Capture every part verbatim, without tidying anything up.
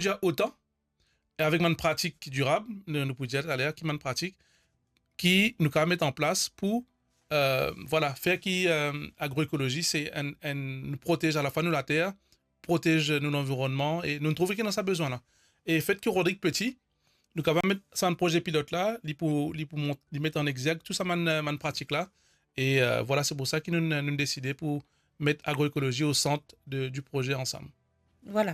prodwir otan, e avek bann pratik dirab, nou, nou pou dir taler ki bann pratik ki nou kapav met an plas pou, euh, vwala, fer ki, euh, agroekolozi se enn, enn, nou protez alafwa nou later, protez nou lanvironnman, e nou trouve ki ena sa bezwin la. E fet ki Rodrig peti, nou kapav met sa bann proze pilot la, li pou, li pou mont, li met an egzerk tou sa bann, euh, bann pratik la. E, euh, vwala, se pou sa ki nou, nou deside pou met agroekolozi o sant de, di proze ansam. Vwala.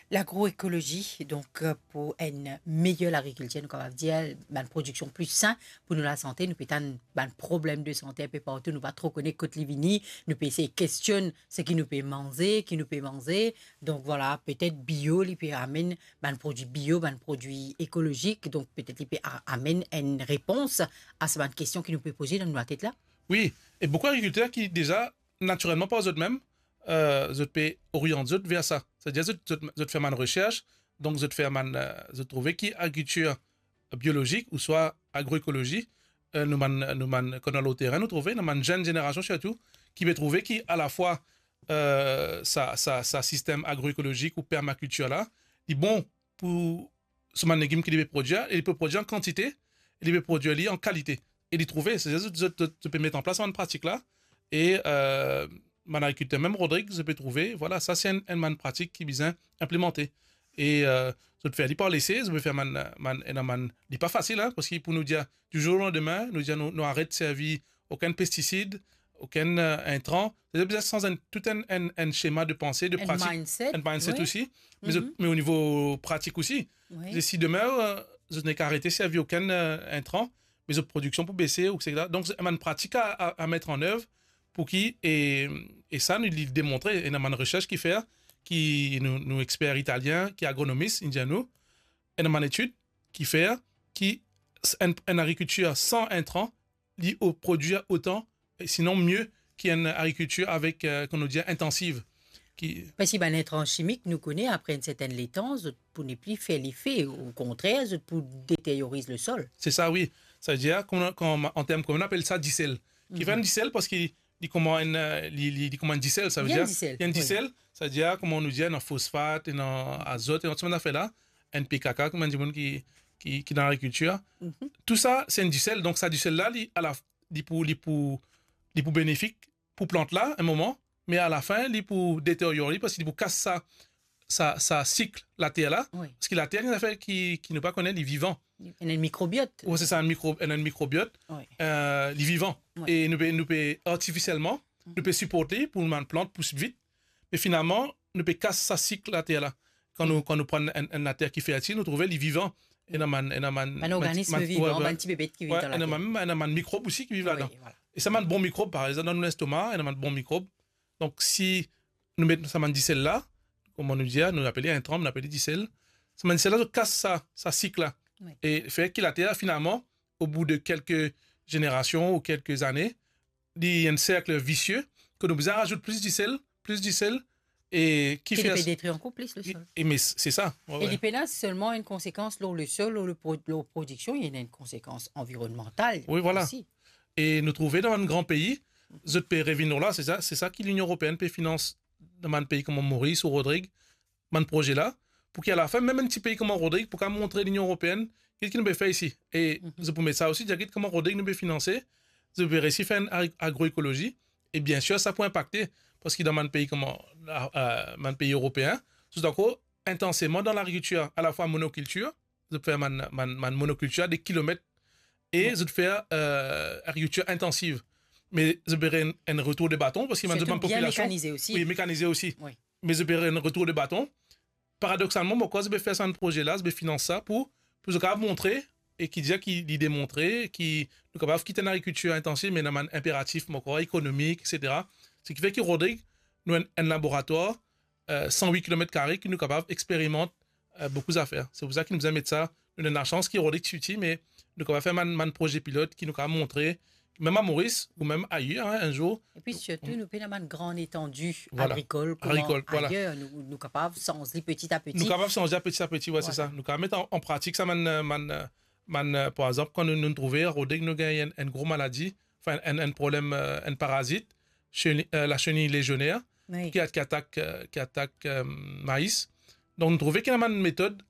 Lagroekolozi, donk, euh, pou enn meyer lagrikiltir, nou kapav dir, bann prodiksion pli sin pou nou lasante, nou pe tann bann problem de sante inpe partou, nou pa tro kone kot li vini, nou pe esey kestionn seki nou pe manze, ki nou pe manze. Donk vwala, petet bio, li pe amenn bann prodwi bio, bann prodwi ekolozik, donk petet li pe a-, amenn enn repons a sa bann kestion ki nou pe poze dan nou latet la. Wi, e boukou agrikilter ki deza, natirelman par zot mem, euh, zot pe oriant zot ver sa. Setadir zot, zot, zot fer bann resers, donk zot fer bann, euh, zot trouve ki agrikiltir biolozik ouswa agroekolozi, euh, nou bann, nou bann, kan nou al o terin, nou trouve, nou bann zenn zenerasion sirtou, ki pe trouve ki alafwa, euh, sa, sa, sa sistem agroekolozik ou permakiltir la, li bon pou so bann legim ki li pe prodwir, e li pe prodwir an kantite, e li pe prodwir li an kalite. E li trouve, se zot, zot, zot, zot pe met an plas bann pratik la, e, euh, bann agrikilter, mem Rodrig, zot pe trouve, vwala, sa se enn, enn bann pratik ki bizin inplimante. E, euh, zot fer li par lese, zot pe fer bann, bann, ena bann, li pa fasil, hein, parski pou nou dir, di zour o landime, nou dir nou, nou aret servi okenn pestisid, okenn, euh, intran. Setadir bizin sanz enn, tou enn, enn, enn sema de panse, de pratik, enn mindset, enn mindset wi. Osi, me zot, me o nivo pratik osi. Wi. Se si demin, euh, zot nek arete servi okenn, euh, intran, me zot prodiksion pou bese, etsetera. Donk, se bann pratik a, a, a met an ev pou ki, e, e sa, nou, li demontre, ena bann resers ki fer, ki nou, nou exper italien, ki agronomis, inn dir nou, ena bann etid ki fer, ki s-, enn, enn agrikiltir san intran, li o-, prodwir otan, e sinon mie ki enn agrikiltir avek, euh, kouma nou dir, intansiv. Ki Parski bann intran simik, nou kone, apre enn sertenn letan, zot pou nepli fer lefe, okontrer, zot pou deteryoriz lesol. Se sa, wi. Savedir, kouma, kouma, an term komin, nou apel sa disel. Ki fer enn disel, parski li kouma enn, euh, li, li, li kouma enn disel, savedir, li enn disel, wi. Li enn disel, savedir, kouma nou dir, ena fosfat, ena azot, ena tou bann zafer la, N P K, kouma dimoun ki, ki, ki dan lagrikiltir. Tou sa, se enn disel. Donk, sa disel la, li, ala, li pou, li pou, li pou benefik pou plant la, enn moman, me alafin, li pou deteryor li, parski li pou kas sa, sa, sa sik later la. Wi. Parski later, enn zafer ki, ki nou pa kone, li vivan. Ena enn mikrobiot. Wi, se sa, enn mikro-, ena enn mikrobiot. Wi. Euh, li vivan. Wi. E nou pe, nou pe artifisielman, nou pe siport li pou bann plant pous vit. Me finalman, nou pe kas sa sik later la. Kan nou, kan nou pran enn, enn later ki fertil, nou trouve li vivan. Ena bann, ena bann, bann, bann, organizim vivan, wi, wi, bann ti bebet ki viv dan later. Ena bann, ena bann mikrob osi ki viv ladan. Wi, vwala. E sa bann bon mikrob, par exanp, dan nou lestoma, ena bann bon mikrob. Donk, si nou met sa bann disel la, kouma nou dir, nou apel li intran, nou apel li disel. Sa bann disel la, zot kas sa, sa sik la. Wi. E fer ki later, finalman, o bou de kelke zenerasion ou kelke zane, li enn serk visie, ke nou bizin razout plis disel, plis disel, e ki fer ki li pe detrir ankor plis lesol. E, me se sa, wi, wi. E li pena selman enn konsekans lor lesol, lor le pro-, lor prodiksion, li ena enn konsekans anvironmantal osi. Wi, vwala. E nou trouve dan bann gran pei, zot pe revinn lor la, se sa, se sa ki Linion Eropeenn pe finans dan bann pei kouma Moris ou Rodrig, bann proze la, pou ki alafin, mem enn ti pei kouma Rodrig, pou kapav montre Linion Eropeenn, ki, ki nou pe fer isi. E zot pou met sa osi, dir, get kouma Rodrig nou pe finanse, zot pe resi fer enn ag-, agroekolozi, e biensir, sa pou inpakte, parski dan bann pei kouma, euh, bann pei eropeen, zot ankor intanseman dan lagrikiltir, alafwa monokiltir, zot fer bann, bann, bann monokiltir de kilomet, e zot fer, euh, agrikiltir intansiv. Me zot pe enn, enn retour de baton, parski bann, zot bann popilasion, sirtou bien mekanize osi. Wi, mekanize osi. Wi. Me zot pe enn retour de baton. Paradoksalman, mo krwar zot pe fer sa bann proze la, zot pe finans sa pou, pou zot kapav montre, e ki dir ki li demontre, ki nou kapav kit enn agrikiltir intansiv, me ena bann inperatif, mo krwar, ekonomik, etsetera. Seki fer ki Rodrig, nou enn, enn laboratwar, euh, san wit kilomet kare ki nou kapav experimant, euh, boukou zafer. Se pou sa ki nou bizin met sa, nou ena lasans ki Rodrig ti piti, me nou kapav fer bann, bann proze pilot ki nou kapav montre, mem a Moris ou mem ayer, hein, enn zour. Epi sirtou, nou pena bann gran etandi agrikol kouma ayer, nou, nou kapav sanz li peti a peti. Nou kapav sanz li peti a peti, wi, se sa. Vwala. Nou kapav met an, an pratik sa bann, bann, bann, par exanp, kan nou, nou trouve Rodrig, nou gagn enn, enn gro maladi, anfin, enn, enn problem, euh, enn parazit, cheni-, euh, la chenille légionnaire, wi, ki a-, ki atak, euh, ki atak, euh, mais. Donk, nou trouve ki ena bann metod